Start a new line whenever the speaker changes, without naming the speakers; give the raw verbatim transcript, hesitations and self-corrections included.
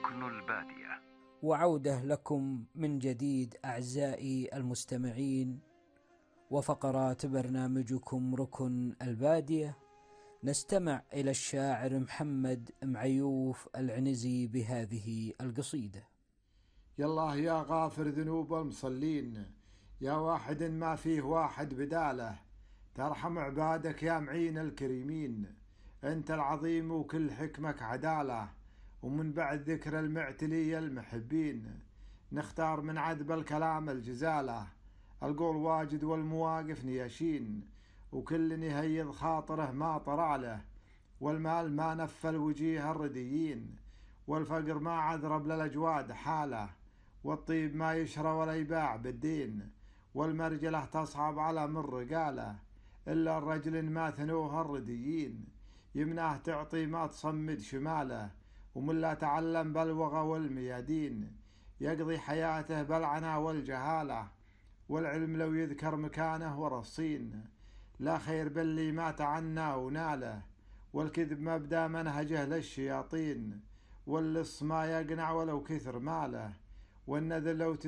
ركن البادية.
وعودة لكم من جديد أعزائي المستمعين وفقرات برنامجكم ركن البادية. نستمع إلى الشاعر محمد معيوف العنزي بهذه القصيدة.
يالله يا غافر ذنوب المصلين، يا واحد ما فيه واحد بداله، ترحم عبادك يا معين الكريمين، أنت العظيم وكل حكمك عدالة، ومن بعد ذكر المعتلي المحبين نختار من عذب الكلام الجزالة، القول واجد والمواقف نياشين، وكل يهيض خاطره ما طرع له، والمال ما نفل وجيه الرديين، والفقر ما عذرب للأجواد حاله، والطيب ما يشرى ولا يباع بالدين، والمرجلة تصعب على من رقاله، إلا الرجل ما ثنوه الرديين، يمناه تعطي ما تصمد شماله، ومن لا تعلم بالوغى والميادين، يقضي حياته بالعنا والجهالة، والعلم لو يذكر مكانه ورصين، لا خير باللي ما تعنى وناله، والكذب مبدأ منهجه للشياطين، واللص ما يقنع ولو كثر ماله، والنذر لو تس